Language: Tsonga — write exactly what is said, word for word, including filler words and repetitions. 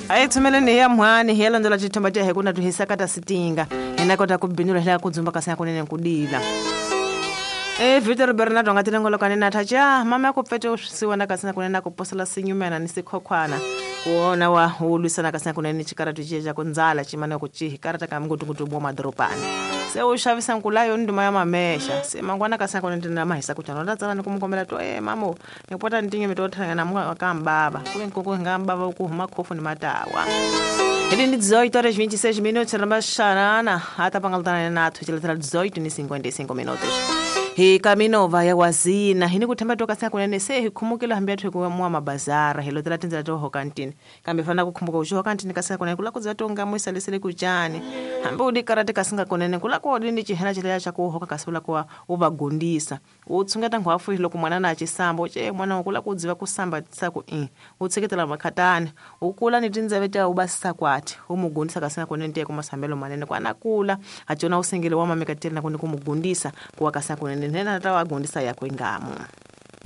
A hi tshumeleni hi ya mhani hi ya landzela xithomba xa hi ku na tuhisaka ta sitinga hi na kota ku bindula hi la ku dzumba kasi kunene ku dila. E Victor Bernardo nga tilengolokane na thacha mama ya ku pfete u swisiwana kasi na kunene na ku posela sinyumena ni sikhokhwana kuona wa wu lwisana kasi na kunene ni xikaratu xiya xa ku ndzala ximana ku cihi karata ka ngutungutu bwa madorobani se u xavisa nkula yo nduma ya mamexa se mangwana kasi na kunene tina mahisa ku chana ta tsala ni ku mu kombela to e mamo ni pota ni tinyimi to thanga na munga ka mbava ku nkuku nga mbava ku huma khofu ni matawa. Ele ni dezoito horas vinte e seis minutos rambaxarana ata pangalutana na athu chiletera dezoito ni cinquenta e cinco minutos. Hi kaminova ya wazina hini kuthemba toka sa kunene se hi khumukela hambi athu ku mwa mabazara hi lotela tindzela to hokantini kambe fana ku khumbuka u hokantini kasi kunene kula kudza to nga muisa lesele kuchani hambi udi karate kasi nga kunene kula ko ni chihena chileya cha ku hoka kasi kula ku u va gondisa u tshungeta ngwafu loko mwana na chisamba che mwana kula kudziva kusamba tsa ku i u tseketela makhatani u kula ni tindzeve ta u basisa kwati u mugondisa kasi nga kunene te ku masambelo manene kwana kula achona usengele wa mameka tena ku ni ku mugondisa ku wa kasi kunene nena ta wa gondisa yakwe ngamu.